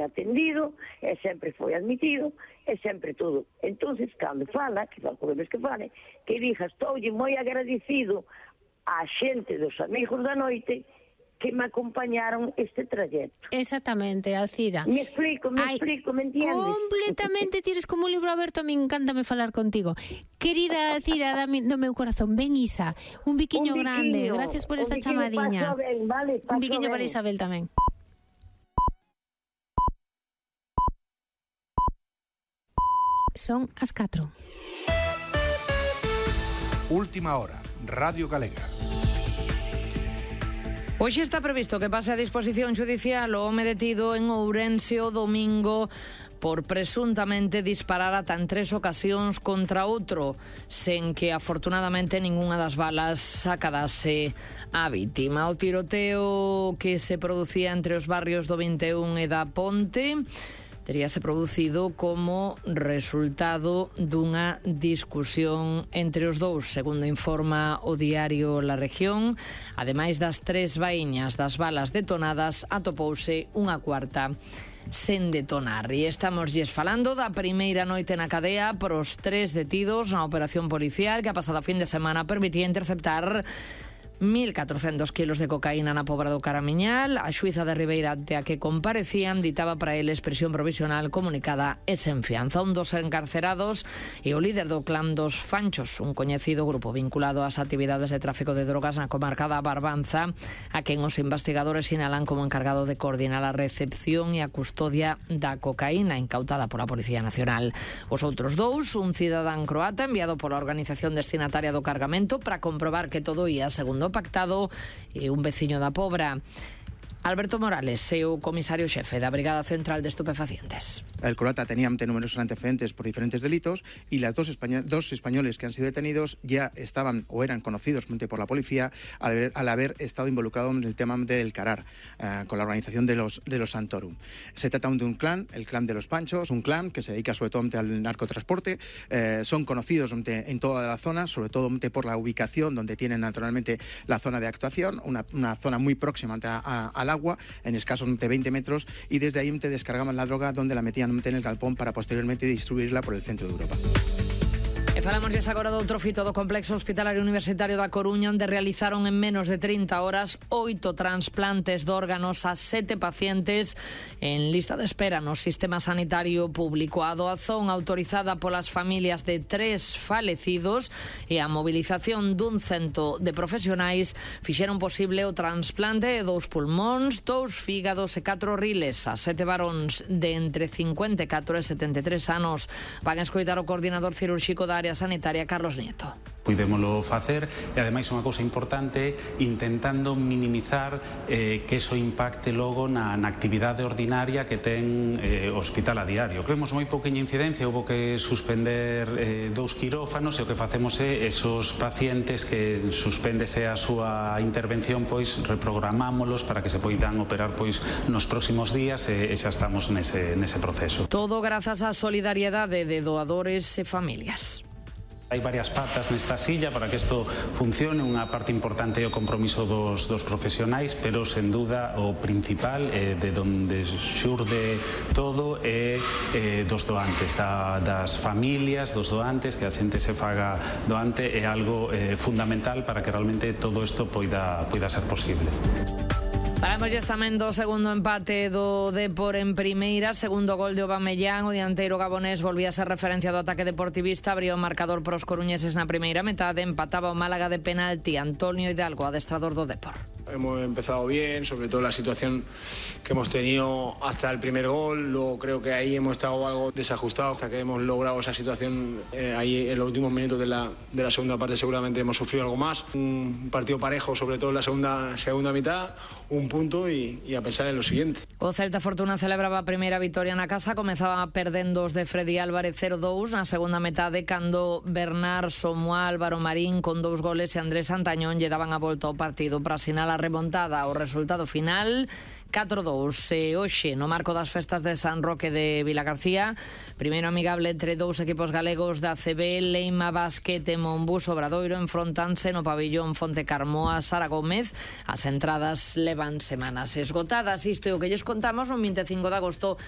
ben atendido, e sempre foi admitido, e sempre todo. Entonces, cando fala, que podemos que fale, que diga, estoulle moi agradecido á xente dos amigos da noite que me acompañaron este trayecto. Exactamente, Alcira. Me explico, me entiendes? Completamente, tires como un libro aberto, me encanta me falar contigo. Querida Alcira, do meu corazón, ben Isa, un biquiño grande, gracias por esta chamadiña. Un biquiño para Isabel tamén. Son as 4. Última hora, Radio Galega. Hoxe está previsto que pase a disposición judicial o home detido en Ourense o domingo por presuntamente disparar ata en 3 ocasións contra outro, sen que afortunadamente ningunha das balas acadase a vítima. O tiroteo que se producía entre os barrios do 21 e da Ponte teríase producido como resultado dunha discusión entre os dous, segundo informa o diario La Región. Ademais das 3 vaíñas das balas detonadas, atopouse unha cuarta sen detonar. E estamos falando da primeira noite na cadea pros 3 detidos na operación policial que a pasada fin de semana permitía interceptar 1.400 kilos de cocaína na Pobra do Caramiñal. A xuíza de Ribeira ante a que comparecían ditaba para eles prisión provisional comunicada e sen fianza. Un dos encarcerados e o líder do clan dos Fanchos, un coñecido grupo vinculado ás actividades de tráfico de drogas na comarca da Barbanza, a quen os investigadores sinalan como encargado de coordinar a recepción e a custodia da cocaína incautada pola Policía Nacional. Os outros dous, un cidadán croata enviado pola organización destinataria do cargamento para comprobar que todo ia segundo pactado, e un veciño da Pobra. Alberto Morales, o comisario xefe da Brigada Central de Estupefacientes. El croata tenía numerosos antecedentes por diferentes delitos y las dos españoles que han sido detenidos ya estaban o eran conocidos por la policía al haber estado involucrados en el tema del CARAR, con la organización de los Santorum. Se trata de un clan, el clan de los Panchos, un clan que se dedica sobre todo al narcotransporte. Son conocidos en toda la zona, sobre todo por la ubicación donde tienen naturalmente la zona de actuación, una zona muy próxima al agua, en escasos 20 metros, y desde ahí te descargaban la droga donde la metían en el galpón para posteriormente distribuirla por el centro de Europa. E falamos agora do outro fito do Complexo Hospitalario Universitario da Coruña, onde realizaron en menos de 30 horas 8 transplantes de órganos a 7 pacientes en lista de espera no sistema sanitario público. A doazón autorizada polas familias de 3 falecidos e a mobilización dun cento de profesionais fixeron posible o trasplante de 2 pulmóns, 2 fígados e 4 riles a 7 varóns de entre 54 e 73 anos. Van escoitar o coordinador cirúrxico da área sanitaria, Carlos Nieto. Puidémolo facer e ademais unha cousa importante, intentando minimizar que eso impacte logo na actividade ordinaria que ten o hospital a diario. Vemos moi pouquinha incidencia, houve que suspender 2 quirófanos e o que facemos é esos pacientes que suspéndese a súa intervención, pois reprogramámolos para que se poidan operar pois nos próximos días e xa estamos nese proceso. Todo grazas á solidariedade de doadores e familias. Hai varias patas nesta silla para que isto funcione. Unha parte importante é o compromiso dos profesionais, pero sen duda o principal de donde xurde todo é dos doantes, das familias dos doantes, que a xente se faga doante é algo fundamental para que realmente todo isto poida ser posible. Falámoslle tamén do segundo empate do Depor en primeira, segundo gol de Aubameyang. O dianteiro gabonés volvía a ser referencia do ataque deportivista, abriu o marcador para os coruñeses na primeira metade, empataba o Málaga de penalti. Antonio Hidalgo, adestrador do Depor. Hemos empezado bien, sobre todo la situación que hemos tenido hasta el primer gol. Luego creo que ahí hemos estado algo desajustados hasta que hemos logrado esa situación. Ahí en los últimos minutos de la segunda parte seguramente hemos sufrido algo más. Un partido parejo, sobre todo en la segunda mitad, un punto y a pensar en lo siguiente. O Celta Fortuna celebraba a primeira vitoria na casa, comezaba perdendo os de Freddy Álvarez 0-2 na segunda metade, cando Bernard Somoa, Álvaro Marín con 2 goles e Andrés Santañón lle daban a volta ao partido para sinalar a remontada. O resultado final 4-2. E hoxe, no marco das festas de San Roque de Vilagarcía, primeiro amigable entre 2 equipos galegos da ACB, Leima Basquet e Monbús Obradoiro enfrontanse no pabillón Fonte Carmoa Sara Gómez. As entradas levan semanas esgotadas. Isto é o que lles contamos no 25 de agosto